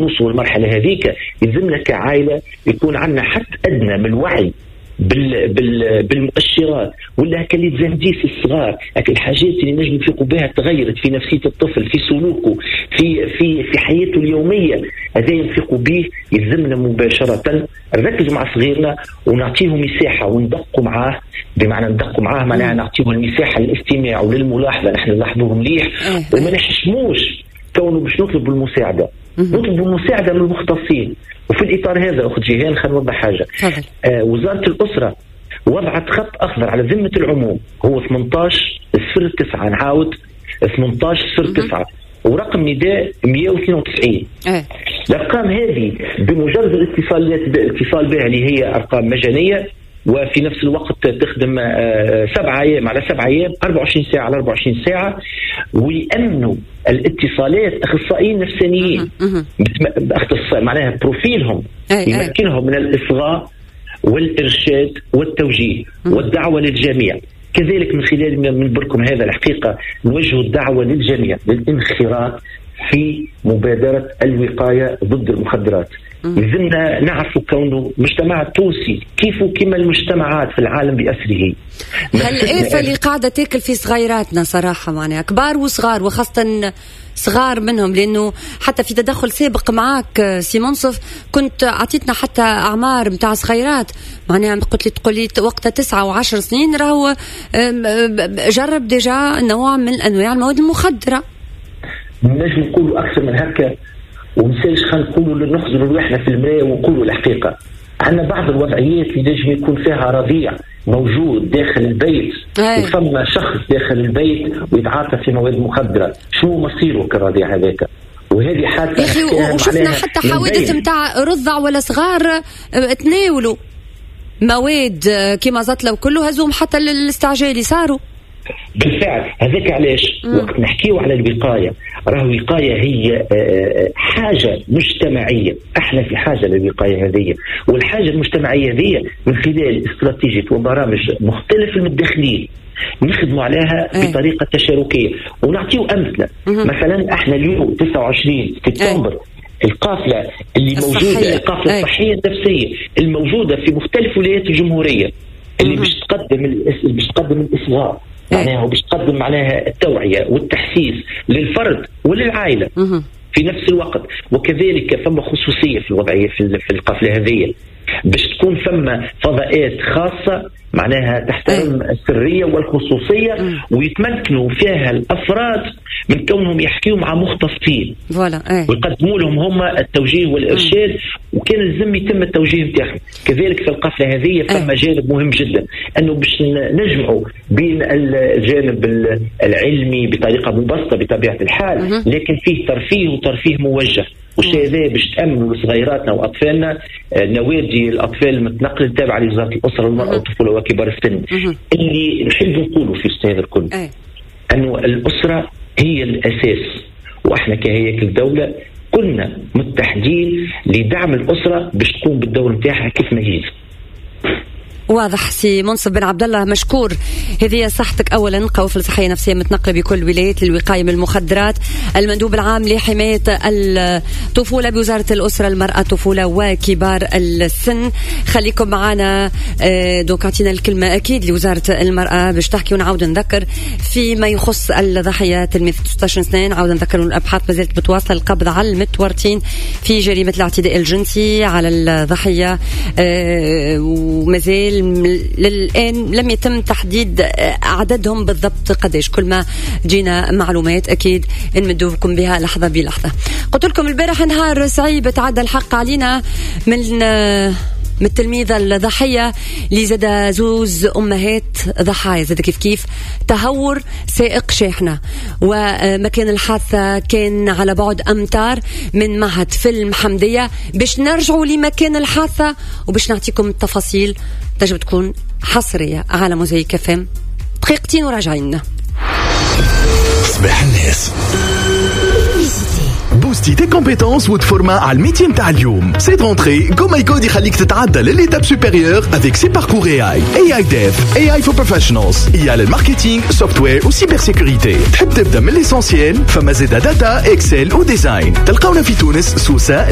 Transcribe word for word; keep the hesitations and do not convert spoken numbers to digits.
نوصلوا للمرحلة هذيك يلزمنا كعائله يكون عندنا حد ادنى من الوعي بال بال بالمؤشرات ولا هكا les indices الصغار، هكا الحاجات اللي نجم نفيقوا بها تغيرت في نفسية الطفل، في سلوكه، في في في حياته اليوميه. هذا نفيقوا به، يلزمنا مباشرة نركزوا مع صغيرنا ونعطيهم مساحة وندقوا معاه. بمعنى ندقوا معاه معناها نعطيهم المساحة للاستماع وللملاحظه، نحن نلاحظوه مليح إيه. وما نحشموش كونه باش نطلب المساعده، نطلب المساعدة من المختصين. وفي الاطار هذا اخت جيهان خلينا نوضح حاجه. آه وزارة الاسرة وضعت خط اخضر على ذمه العموم هو ثمنطاش صفر تسعة، نعاود ثمنطاش صفر تسعة، ورقم نداء مية واثنين وتسعين. أه. الارقام هذه بمجرد الاتصال الاتصال بها اللي هي ارقام مجانية وفي نفس الوقت تخدم سبعة ايام على سبعة ايام، أربعة وعشرين ساعة على أربعة وعشرين ساعه، ويامنوا الاتصالات اخصائيين نفسانيين اختصاء معناها profil هم يمكنهم من الاصغاء والارشاد والتوجيه والدعوة للجميع. كذلك من خلال منبركم هذا الحقيقة نوجه الدعوة للجميع للانخراط في مبادرة الوقاية ضد المخدرات. لازمنا نعرفوا كونه المجتمع التونسي كيف كما المجتمعات في العالم بأسره. هالآفة اللي قاعدة تاكل في صغيراتنا صراحة، معناها كبار وصغار، وخاصة صغار منهم، لأنه حتى في تدخل سابق معاك سي منصف كنت عطيتنا حتى أعمار متاع صغيرات، معناها قلت لي تقول لي وقتها تسعة وعشر سنين راهو جرب déjà نوع من أنواع المواد المخدرة. نجم نقولوا أكثر من هكا ومسالش، خلينا نقولوا نخزروا رواحنا في المراية ونقولوا الحقيقة. عندنا بعض الوضعيات اللي نجم يكون فيها رضيع موجود داخل البيت وفما شخص داخل البيت ويتعاطى في مواد مخدره، شنو مصيره كالرضيع هذاك؟ وهذه حادثه يا اخي، وشفنا حتى حوادث نتاع رضع ولا صغار تناولوا مواد كيما زطله وكله، هزوم حتى للاستعجالي صاروا. بالفعل هذاك علاش وقت نحكيو على الوقاية، راه الوقاية هي حاجة مجتمعية، احنا في حاجة للوقايه هذه، والحاجة المجتمعية هذه من خلال استراتيجية وبرامج مختلف المتدخلين نخدموا عليها بطريقة تشاركيه ونعطيو امثلة. مثلا احنا اليوم تسعة وعشرين سبتمبر القافلة اللي موجودة، القافلة الصحية النفسية الموجودة في مختلف ولايات الجمهورية اللي باش تقدم باش تقدم الاصغاء معناها وباش تقدم معناها التوعية والتحسيس للفرد وللعائلة في نفس الوقت. وكذلك فما خصوصية في الوضعية في القافلة هذه باش تكون فما فضاءات خاصة معناها تحترم السرية والخصوصية ويتمكنوا فيها الأفراد من كونهم يحكيوا مع مختصين ويقدموا لهم هم التوجيه والإرشاد، وكان لازم يتم التوجيه نتاعهم. كذلك في القافلة هذه فما جانب مهم جدا أنه باش نجمعوا بين الجانب العلمي بطريقة مبسطة بطبيعة الحال، لكن فيه ترفيه وترفيه موجه. والشيء هذا باش تامنوا لصغيراتنا واطفالنا نوادي الاطفال المتنقله التابعة لوزارة الاسرة والمراة والطفوله وكبار السن. اللي نحب نقوله في هذا الكل انه الاسرة هي الاساس، واحنا كهياكل الدولة كنا متحدين لدعم الاسرة باش تقوم بالدور نتاعها كيف ما هي. واضح سي منصف بن عبد الله، مشكور. هذه صحتك اولا، قوافل صحية نفسية متنقله بكل الولايات للوقايه من المخدرات، المندوب العام لحماية الطفولة بوزارة الاسرة المراة الطفولة وكبار السن. خليكم معنا donc اعطينا الكلمة اكيد لوزارة المراة باش تحكي، ونعاود نذكر فيما يخص الضحية تلميذ ستة عشر سنة، نعاود نذكر الابحاث ما زالت متواصلة القبض على المتورطين في جريمة الاعتداء الجنسي على الضحية، ومازال للآن لم يتم تحديد عددهم بالضبط قديش. كل ما جينا معلومات أكيد نمدوكم بها لحظة بلحظة. قلت لكم البارح نهار صعيب تعدى الحق علينا من من التلميذة الضحية اللي زاد زوز أمهات ضحايا، زاد كيف كيف تهور سائق شاحنة، ومكان الحادثة كان على بعد أمتار من معهد فيلم حمدية. باش نرجعوا لمكان الحادثة وباش نعطيكم التفاصيل تجب تكون حصرية على موزايك اف ام. دقيقتين وراجعين. صباح الناس. تبوستي tes compétences وتفورما على ال métier نتاع اليوم. Cette rentrée, GoMyCode يخليك تتعدى لل étape supérieure avec ses parcours A I, A I Dev, A I for Professionals, I A لل marketing, software و cybersécurité. تحب تبدا من l'essentiel؟ فما زيدا data, Excel و design. تلقاونا في تونس, سوسه.